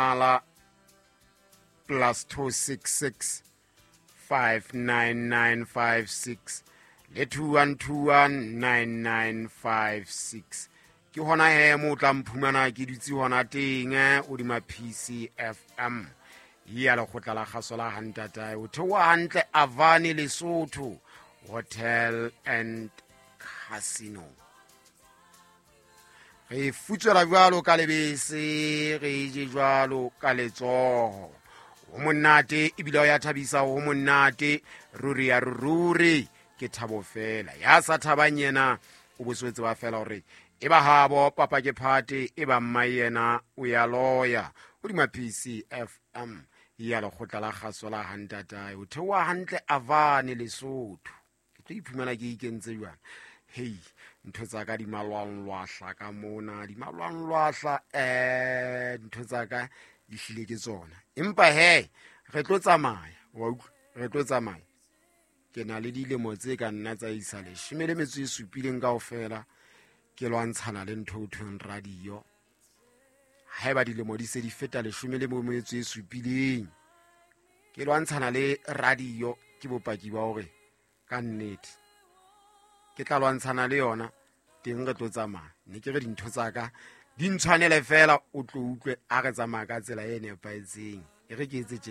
Mohala +266 59956 le 21219956. Ke hona he mo o tla mphumana ke dutse hona teng hodima PCFM ya lekgotla la kgaso la hantatae. O theoha hantle Avani Lesotho Hotel and Casino. Re futswela jwalo ka lebese, re je jwalo ka letsoho. Ho monate ebile o ya thabisa, ho monate ruri ya ruri, ke thabo fela. Ya sa thabang yena o boswetse ba fela hore e ba habo papa ke phate, e ba mma yena o ya loya. Hodima PCFM ya lekgotla la kgaso la hantatae, o theoha hantle Avane Lesotho. Ke tlo iphumana ke ikentse jwang? Hei, ntho tsa ka di malwanglwahla ka mona, di malwanglwahla. Ntho tsa ka di hlile ke tsona, empa he re tlo tsamaya, wa utlwa, re tlo tsamaya. Ke na le dilemo tse ka nna tsa isa 17 kaofela ke lwantshana le ntho o thweng radio. Haeba dilemo di se di feta 17 ke lwantshana le radio, ke bopaki ba hore ka nnete ke tla lwantshana le yona teng. Re tlo tsamaya, ne ke re dintho tsa ka di ntshwanele fela, o tlo utlwe a re tsamaya ka tsela e nepahetseng. E re ke etse tjena.